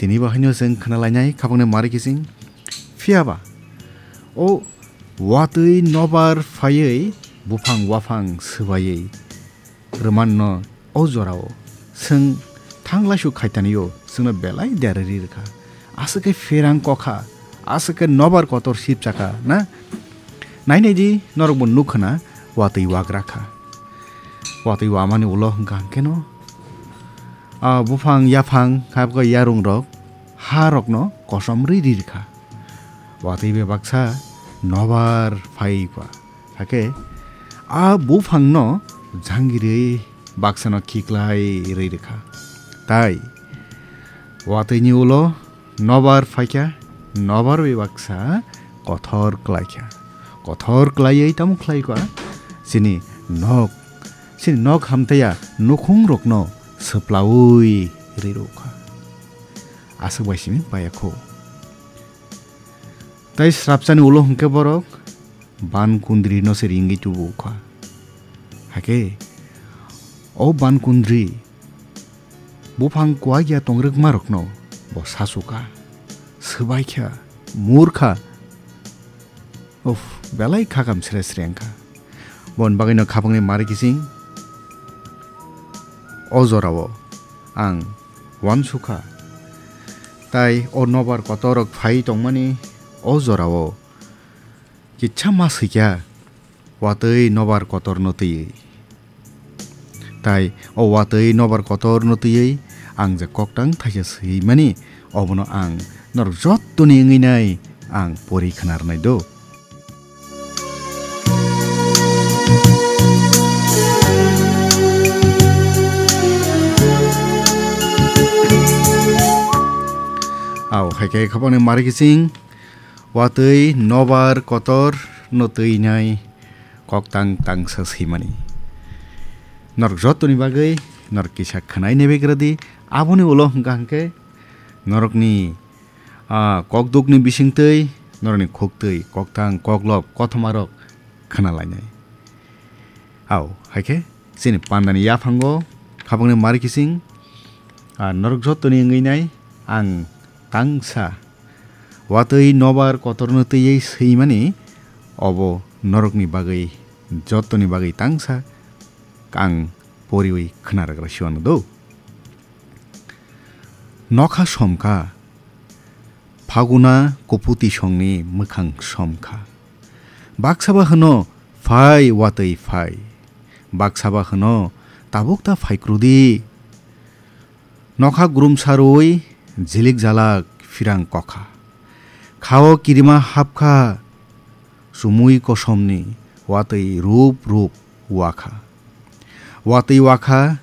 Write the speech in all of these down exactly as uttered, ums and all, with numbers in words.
Tini bo haino chwng khna lainai khabangni mari kiching. Phiya ba o watwi nobar phaiwi buphang waphang swbaiwi rwmanno o jorao chwng thanglaisu khaitanio chwngno belai derwi ri rwkha. Aswk khe pherang kokha, aswk khe nobar kotor sipchakha na? Nainai di, norokbo nukha na, watwi wagra kha. Watwi wamani ulo hwnkha hwnkhe no, a buphang yaphang, habkha yarung rok, ha rokno kosom rwi ri rwkha. Watwi bai baksa nobar phai kha. Hakhe a buphangno jangirwi baksano khiklai rwi rwkha. Tai watwini ulo nobar phaikha, nobar bai baksa kothor klaikha. Kothor klaiwi tamo khlaikha, chini nok, chini nok hamtaya nukhungrokno swplaui ri rwkha. Aswk bai simi payakho. Tai srapsani ulo hwnkhe borok ban kundrino se ringwi tubu kha. Hakhe o ban kundri buphang kuwagya tongrwkmarokno bo sasukha, swbaikha, murkha. Uff, belai khakam sre sre wngkha. Boni bagwino khapangni mari kiching o jorao ang uansukha. Tai o nobar kotorrok phai tongmani o jorao kitsa ma swikha, watwi nobar kotorno twiwi. Tai o watwi nobar kotorno twiwi ang je koktang thaisa swimani, obono ang norok jottoni wngwi nai ang pori khna rwnai do. Au, hai khe khapangni mari kiching, watwi nobar kotor no twinai koktang tangsa swimani. Norok jottoni bagwi norok kisa khwnai nebegradi, aboni ulo hwnkha hwnkhe norokni, ah, kokdukni bisingtwi norokni khuktwi koktang koklop kothomarok khna lainai. Au, hai khe chini pandani yaphango khapangni mari kiching, ah, norok jottoni wngwi nai ang tangsa watwi nobar kotorno twiwi swimani, obo norokni bagwi, jottoni bagwi tangsa ang poriwi khna rwgra siwano do. Nokha somkha, Phaguna kuputi songni mwkhang somkha. Baksaba hwno, "Phai, watwi phai." Baksaba hwno, "Tabuk ta phaikrudi." Nokha grumsa rwi jilik jalak phirang kokha. Khao kirima hapkha, chumui kosomni watwi rup rup wakha. Watwi wakha,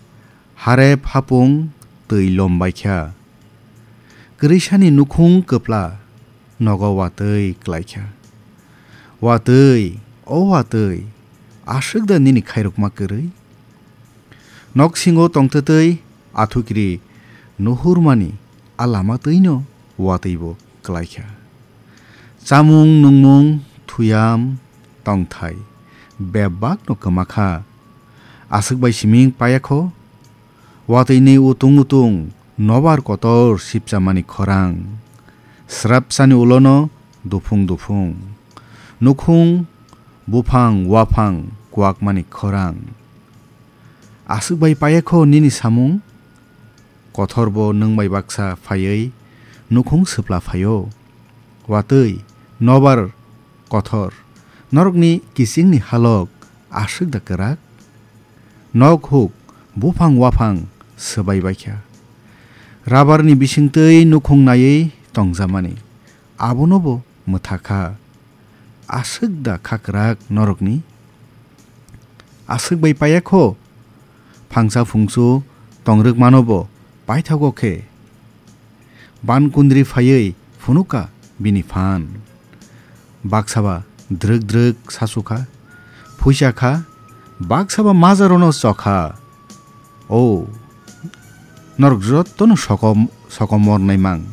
harep hapung twi lombaikha. Kwrwisani nukhung kwpla nogo watwi klaikha. Watwi, o watwi, aswk da nini khairokma kwrwi? Noksingo tongtwtwi athukiri nuhurmani a lama twino watwibo klaikha. Chamung nungmung, thuyam, tongthai bebakno kwmakha. Aswk bai siming payakho. Watwini utung utung nobar kotor sipchamani khorang. Srapsani ulono duphung duphung. Nukhung, buphang, waphang kuwakmani khorang. Aswk bai payakho nini samung? Kothorbo nwng bai baksa phaiwi nukhung swpla phaio. Watwi, nobar kothor, norokni kichingni halok aswk da kwrak? Nok huk, buphang waphang swbai baikha. Rabarni bisingtwi nukhung naiwi tongjamani, abonobo mwthakha. Aswk da kha kwrak norokni? Aswk bai payakho, phangsa phungsu tongrwkmanobo paithago khe. Ban kundri phaiwi phunukha bini phan. Baksaba drwk drwk sasukha, phuisa kha, baksaba majarono chokha. O, norok jotono sokom, sokomor naimang.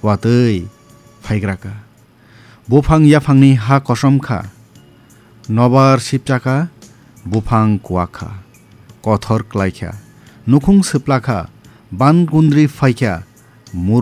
Watwi phaigraka. Buphang yaphangni ha kosom kha, nobar sipchakha, buphang kuwak kha, kothor klai kha, nukhung swpla kha, ban kundri phai kha, mur